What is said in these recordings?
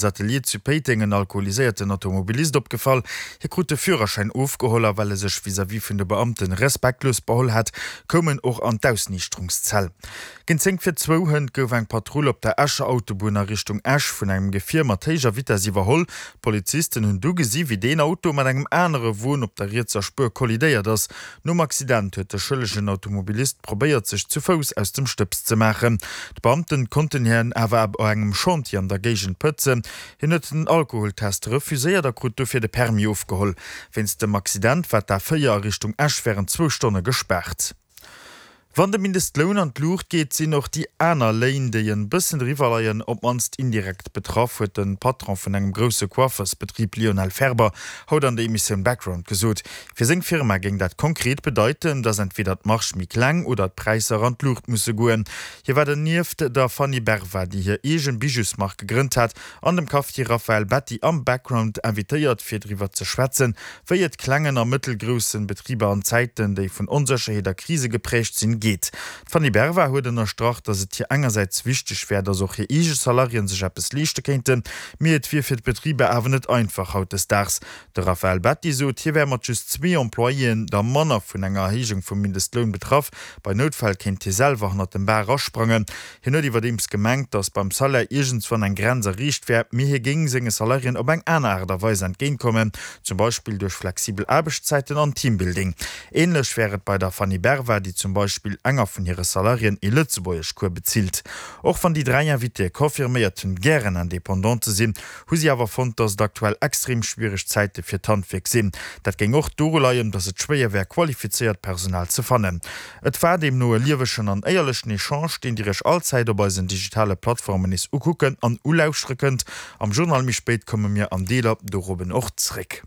Atelier zu Péiteng en alkoholiséierten Automobilist opgefall. Hie krut de Führerschäin ofgeholl a well e sech vis-à-vis vun de Beamte respektlos beholl hat, koum en och an d'Ausniichterungszell. Géint 10 vir zwou hënt gouf eng Patrull op der Escher Autobunn a Richtung Esch vun engem Gefier mat héijer Vitess iwwerholl. D'Polizisten hunn du gesi wéi deen Auto mat engem anere Won op der rietser Spuer kollidéiert ass. Nom Accident huet de schëllegen Automobilist probéiert sech zu Fouss aus dem Stëbs ze maachen. D'Beamten konnten hien awer ab engem Chantier an der Géigend pëtzen. Hien huet den Alkoholtest refuséiert a krut dofir de Permis ofgeholl. Wéinst dem Accident war d'A4 a Richtung Esch wärend zwou Stonne gespaart. Wann de Mindestloun an d'Luucht geet, sinn och déi aner Léin, déi en bëssen driwwer leien, op d'mannst indirekt betraff, huet de Patron vun engem grousse Coiffersbetrib Lionel Ferber haut an der Emissioun Background gesot. Fir seng Firma géing dat konkret bedeiten, datt entweder d'Marge méi kleng oder d'Präisser an d'Luucht musse goen. Hie war dernieft der Fanny Berva, déi hir eegen Bijousmark gegrënnt hat, an dem Cafetier Raphaël Betti am Background invitéiert, fir driwwer ze schwätzen, wéi et klengen a mëttelgroussen Betriber an Zäiten, déi vun Onsécherheet a Krise geprägt sinn, geet. D'Fanny Berva huet ënnerstrach, datt et hir engersäits wichteg wär, datt och hir eege Salariéen sech eppes leeschte kéinten, mee et wier fir d'Betriber awer net einfach hautdesdaags. De Raphaël Betti sot, hie wär mat just zwee Employéen der manner vun enger Erhéijung vum Mindestloun betraff. Bei Noutfäll kéint hie selwer hannert dem Bar asprangen. Hien huet iwwerdeems gemengt, datt beim Salaire iergendswann eng Grenz erreecht wär, mee hie géing senge Salariéen op eng aner Aart a Weis entgéintkommen, zum Beispill duerch flexibel Aarbechtszäiten an Teambuilding. Änlech wär et bei der Fanny Berva, déi zum Beispill enger vun hire Salariéen ee Lëtzebuergeschcours bezilt. Och wann déi 3 Invitéë confirméiert hunn, gären Indépendant ze sinn, hu si awer fonnt, datt et aktuell extrem schwiereg Zäite fir d'Handwierk sinn. Dat géing och doru leien, datt et schwéier wär, qualifizéiert Personal ze fannen. Et war deemno e liewegen an éierlechen Echange, deen Dir Iech allzäit op eisen digitale Plattformen nees ukucken an ulauschtere kënnt. Am Journal méi spéit komme mir an Deeler dorobben och zréck.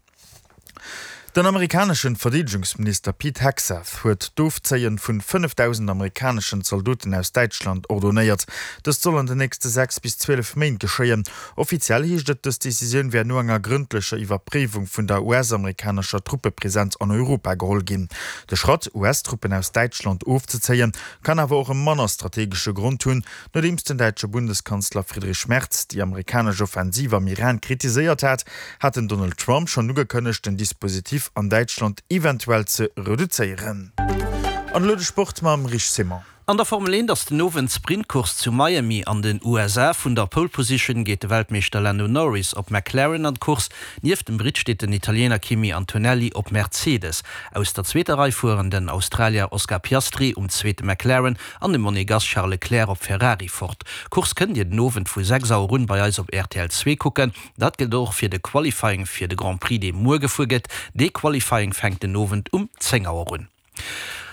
Den amerikaneschen Verdeedegungsminister Pete Hegseth huet d'Ofzéien vun 5.000 amerikaneschen Zaldoten aus Däitschland ordonéiert. Dëst soll an den nächste 6 bis 12 Méint geschéien. Offiziell heescht et, dës Decisioun wär no enger grëndlecher Iwwerpréiwung vun der US-amerikanescher Truppepresenz an Europa geholl ginn. De Schratt, US-Truppen aus Däitschland ofzezéien, kann awer och e manner strategesche Grond hunn, Nodeems den däitsche Bundeskanzler Friedrich Merz déi amerikanesch Offensiv am Iran kritiséiert hat, hat den Donald Trump schonn ugekënnegt, den Dispositif an Däitschland eventuell ze reduzéieren. An elo de Sport mam Rich Simon. An der Formel 1 ass den Owend d'Sprintcourse zu Miami an den USA. Vun der Pole Position geet de Weltmeeschter Lando Norris op McLaren an d'Course. Nieft dem Britt steet den Italiener Kimi Antonelli op Mercedes. Aus der zweeter Rei fueren den Australier Oscar Piastri um zweete McLaren an de Monegass Charles Leclerc op Ferrari fort. D'Course kënnt Dir den Owend vu 6 Auer un bei eis op rtl 2 kucken. Dat gëllt och fir de Qualifying fir de Grand Prix dee muer gefuer gëtt. Dee Qualifying fänkt den Owend um 10 Auer un.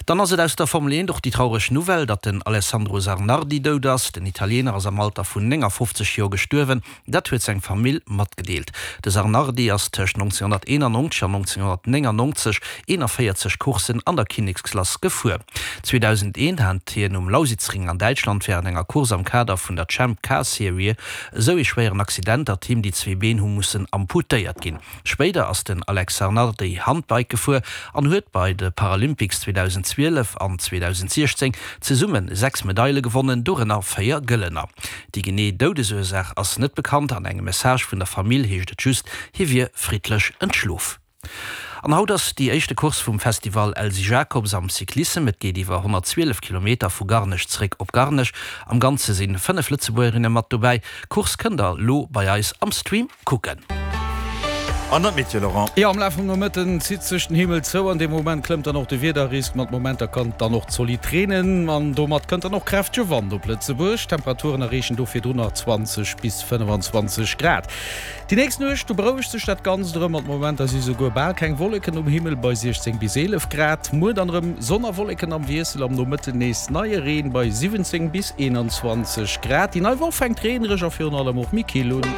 Dann ass et aus der Formel 1 och déi traureg Nouvelle, datt den Alessandro Zanardi dout ass. Den Italiener ass am Alter vun 59 Joer gestuerwen, dat huet seng Famill matgedeelt. De Zanardi ass tëscht 1991 an 1999 41 Courssen an der Kinneksklass gefuer. 2001 hat hien um Lausitzring an Däitschland wärend enger Course am Kader vun der Champ Car Serie esou ee schwéieren Accident, datt him déi zwee Been hu mussen amputéiert ginn. Spéider ass den Alex Zanardi Handbike gefuer an huet bei de Paralympics 2012 an 2016 zesumme 6 Medaile gewonnen, dorënner 4 gëllener. Déi genee Doudesursaach ass net bekannt. An engem Message vun der Famill heescht et just, hie wier friddlech entschlof. An haut ass déi éischte Course vum Festival Elsy Jacobs am Cyclissem. Et geet iwwer 112 Kilometer vu Garnech zeréck op Garnech. Am Ganze sinn 5 Lëtzebuergerinne mat dobäi. D'Course kënnt der lo bei eis am Stream kucken. An dann d'Meteo, Laurent. Jo, am Laf vum Nomëtten zitt sech den Himmel zou. An deem Moment klëmmt dann och de Wiederrisk. Mat Momenter kann et dann och zolidd reenen an domat kënnt dann och kräftege Wand op Lëtzebuerg. D'Temperaturen erreechen do virdrun nach 20 bis 25 Grad. Déi nächst Nuecht, do berouegt sech dat Ganzt erëm. Mat Momenter si souguer bal keng Wolleken um Himmel bei 16 bis 11 Grad. Muer dann erëm Sonn a Wolleken am Wiessel, am Nomëtten nees neie Reen bei 17 bis 21 Grad. Déi nei Woch fänkt reenereg a virun allem och méi kill un.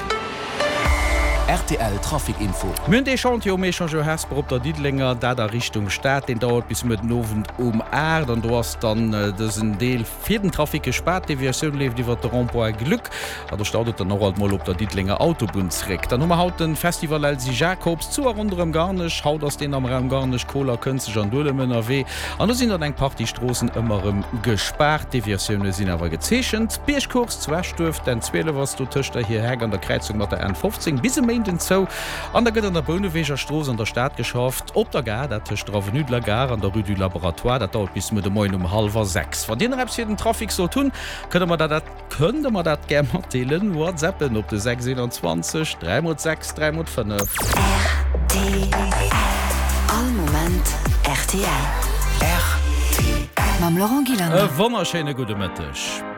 Rtl Trafic Info. Mir hunn dee Chantier um Echangeur Hesper op der Diddelenger, dat a Richtung Stad. Deen dauert bis muer den Owend um 8 an do ass dann dësen Deel fir den Trafic gespaart. D'Deviatioun leeft iwwert de Rond-point Gluck an do staut et dann och alt mol op der Diddelenger Autobunn zréck. Dann hu mer haut de Festival Elsy Jacobs zu a ronderëm Garnech. Haut ass deen am Raum Garnech, Koler, Kënzeg an Duelem ënnerwee an do sinn dann eng Partie Stroossen ëmmer erëm gespaart. D'Deviatioune sinn awer gezeechent. D'Biergcourse zu Eschduerf, d'N 12 ass do tëscht der Hir Heck an der Kräizung mat der N 15 bis e Méinden zou an da gëtt an der Bouneweger Strooss an der Stad geschafft. Op der Gare, dat tëscht der Avenue de la Gare an der Rue du Laboratoire. Dat dauert bis muer de Moien um hallwer 6. Wann Dir nach eppes fir den Trafic sollt hunn, kënnt Der mer dat kënnt Der mer dat gär matdeelen. Whatsappen op de 6 21 3 mol 6 3 mol 5. Rtl. All Moment rtl. Rtl. Mam Laurent Gillander. E wonnerschéine gudde Mëtteg.